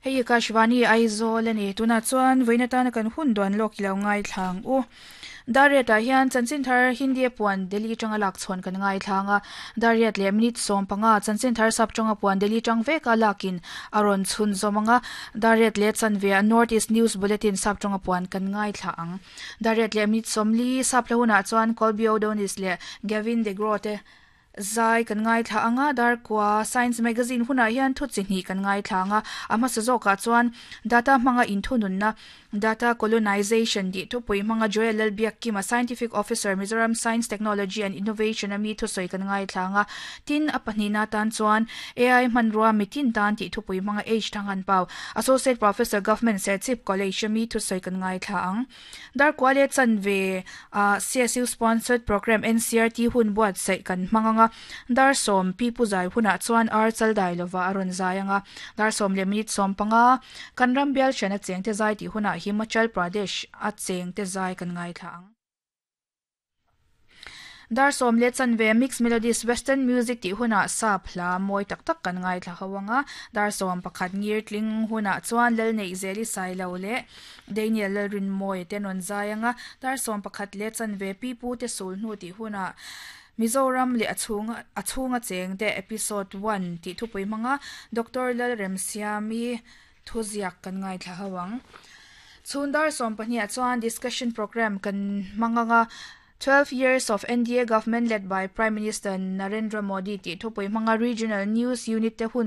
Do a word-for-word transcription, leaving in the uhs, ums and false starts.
Hei Akashvani Aizawl ani tuna chuan voina tana kan hun duan lawk ilo ngai thlang u Dariat ah hian chanchin thar Hindi puan Delhi tanga lak chhawn kan ngai thlanga Dariat leh minute sawm panga chanchin thar sap tanga puan Delhi tang veka lakin aron chhun zawmanga Dariat leh chanve North East News Bulletin sap tanga puan kan ngai thla ang Dariat leh minute sawmli sap hlahuna chuan Colby O'Donis leh Gavin de Grote zai kan ngai thla anga dar kwa science magazine huna hian thu chi hnih kan ngai thla anga a hmasa zawkah chuan data hmanga inthunun na data colonization tih thupui hmanga Joel Lalbiak Kima scientific officer Mizoram Science Technology and Innovation ami thusawi kan ngai thla anga tin a pahnih na tan chuan AI hmanrua mitin tan tih thupui hmanga H thangan pau associate professor government Serchhip College ami thusawi kan ngai thla ang dar kwa le chanve a CSU sponsored program NCRT hun buat sai kan hmanga dar som pi pu zai huna chuan ar chal dai lova aron zai anga dar som le minute som panga kan ram bial chana chengte zai ti huna Himachal Pradesh a chengte zai kan ngai thla ang dar som le chanve mix melodies western music ti huna sa phla moi tak tak kan ngai thla hawanga dar som pakhat ngir tling huna chuan lal nei zeli sai lo le Daniel rin moi te non zai anga dar som pakhat le chanve pi pu te sul hnu ti huna Mizoram le achhunga achhunga cheng te episode one ti thupui hmanga Dr. Lal Remsiami thuziak kan ngai thla hawang chhundar som pahnih chuan discussion program kan hmanga twelve years of NDA government led by Prime Minister Narendra Modi ti thupui hmanga regional news unit te hun